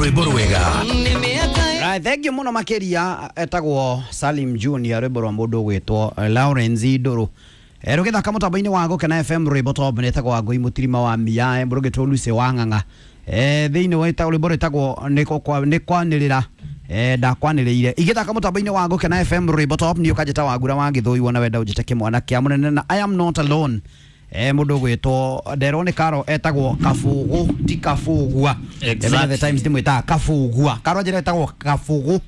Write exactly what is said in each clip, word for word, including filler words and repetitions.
Rwĩmbo rwega. Right, thank you muno makiria etagwo Salim Junior rwĩmbo rwa mũndũ ũgwĩtwo Lawrence Ndũrũ. Eh, rũgĩthaka mũtambo-inĩ wa Gũkena F M rwĩmbo top nĩtagwo Wangũi Mũtirima wa Miae mũrũgĩtwo Lucy wa Ng'ang'a. Eh, thĩinĩ wa rwĩmbo rwĩtagwo nĩ kwanĩrĩra eh ndakwanĩrĩire. Igĩthaka mũtambo-inĩ wa Gũkena F M rwĩmbo top nĩ ũkanjĩta Wangura wa Gĩthũi wona wenda ũnjĩte kĩmwana kĩa mũnene na I am not alone. Eh, mũndũ ũgwĩtwo nderwo nĩ Karo etagwo Kabũgũ ti Kabũgua. Exactly. The times ndimwĩtaga Kabũgua. Karo njĩra etagwo Kabũgũ.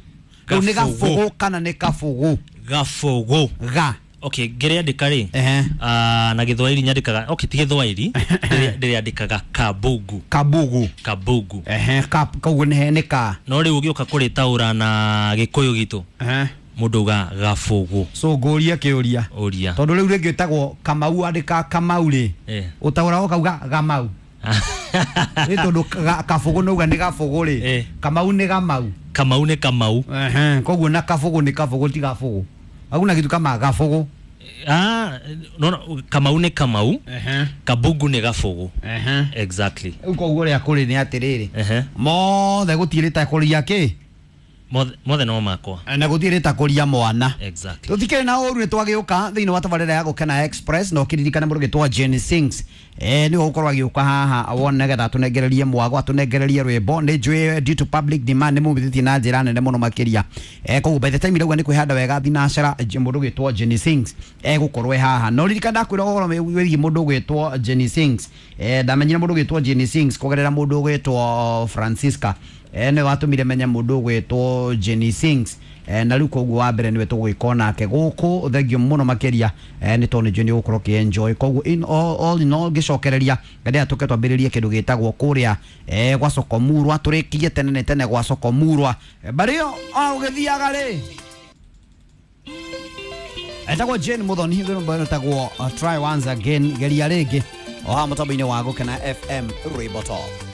Rĩu nĩ Gabũgũ kana nĩ Kabũgũ? Gabũgũ. Ga. Okay, ngĩrĩandĩka rĩ Ehe. ah, na Gĩthwaĩri nyandĩkaga okay ti Gĩthwaĩri ndĩrĩandĩkaga Kabugu. Kabugu. Kabugu. Ehe, ka koguo nĩ nĩ ka. No rĩu ũgĩũka kũrĩtaũra na Gĩkũyũ gitũ Ehe. mũndũ uga Gabũgũ. So ngũrie kĩũria. Ũria. Tondũ rĩu rĩngĩ ĩtagwo Kamau andĩka Kamau rĩ. Eh. Ũtaũra ũkauga Gamau. Nĩ tondũ Kabũgũ nĩ uga nĩ Gabũgũ rĩ. Eh. Kamau nĩ Gamau. Kamau nĩ Kamau. Ehe, koguo na Kabũgũ nĩ Kabũgũ ti Gabũgũ. Hakuna kitu kama Gabũgũ. Ah, no, no, Kamau nĩ Kamau. Ehe. Kabugu nĩ Gabũgũ. Ehe. Exactly. Rĩu koguo ũrĩa kũrĩ nĩ atĩrĩrĩ. Ehe. Mothe gũtirĩ ta kũria kĩ? Mothe mothe no makwa. Na gũtirĩ ta kũria mwana. Exactly. Tũtikĩrĩ na ũru nĩ twagĩũka thĩinĩ wa tabarĩra ya Gũkena Express na ũkĩririkana mũndũ ũgĩtwo Jane Sings. Eh, nĩwe ũgũkorwo agĩũka haha wone nĩgetha atũnengererie mwago atũnengererie rwĩmbo. Nĩ njũĩ due to public demand nĩ mumithĩtie na njĩra nene mũno makĩria. Eh, koguo by the time irauga nĩ kwĩhanda wega thinacara mũndũ ũgwĩtwo Jane Sings egũkorwo e haha. No ririkana ndakwĩra ũhoro wĩgiĩ mũndũ ũgwĩtwo Jane Sings. Eh, ndamenyire mũndũ ũgwĩtwo Jane Sings kũgerera mũndũ ũgwĩtwo Francisca. Eh, nĩwe watũmire menye mũndũ ũgwĩtwo Jenny Sings. Eh, na rĩu koguo wa mbere nĩwe tũgwĩka nake gũkũ thengio mũno makĩria eh, nĩ tondũ nĩ njũĩ nĩ ũgũkorwo ũkĩ-enjoy. Koguo in all, all in all ngĩcokereria ngendea tũke twambĩrĩrie kĩndũ gĩtagwo kũrĩa eh, gwa Sokomurwa tũrĩkie tene nĩ tene gwa Sokomurwa. Eh, barĩo o ũgĩthiaga rĩ etagwo Jane Muthoni rwĩmbo rwĩtagwo uh, Try Once Again geria rĩngĩ o haha mũtambo-inĩ wa Gũkena F M rwĩmbo top.